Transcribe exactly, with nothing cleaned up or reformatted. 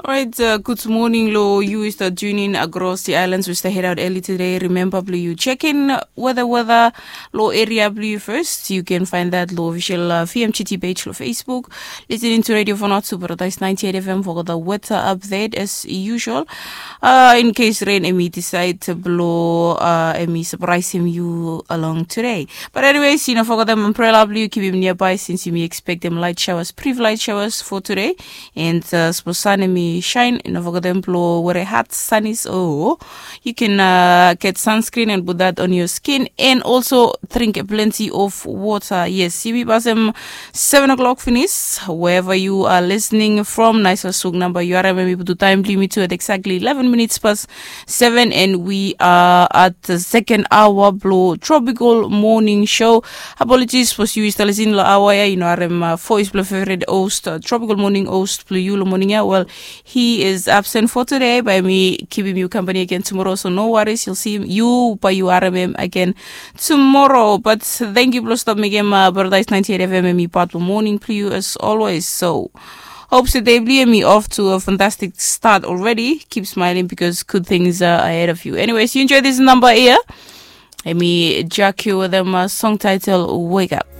Alright, uh, good morning lo yu we start tuning across the islands we start head out early today. Remember blue you check in weather weather lo area blue you first. You can find that lo official uh, V M G T page lo Facebook. Listening to Radio Fanato Paradise ninety-eight F M for the weather update as usual. Uh, in case rain emi decide to blow uh, emi surprise him you along today. But anyways, you know, forget them umbrella blue, keep him nearby since you may expect them light showers, brief light showers for today. And uh, suppose sun emi shine, you know, forget them blow where a hot sun is. Oh, you can uh, get sunscreen and put that on your skin, and also drink plenty of water. Yes, you be passing seven o'clock finish wherever you are listening from. Nice suk number you are maybe to time limit to at exactly eleven minutes past seven, and we are at the second hour blow tropical morning show. Apologies for you is listening lo hour ya, you know, arem uh, voice blow favorite host uh, tropical morning host blue you lo morning ya. Well, he is absent for today, but me keeping you company again tomorrow, so no worries, you'll see him, you by you R M M again tomorrow. But thank you, Blue Stop Miguel, uh, Paradise ninety-eight F M, and me part of morning for you as always. So hope today blue me off to a fantastic start already. Keep smiling because good things are ahead of you. Anyways, you enjoy this number here. And me jack you with them uh, song title Wake Up.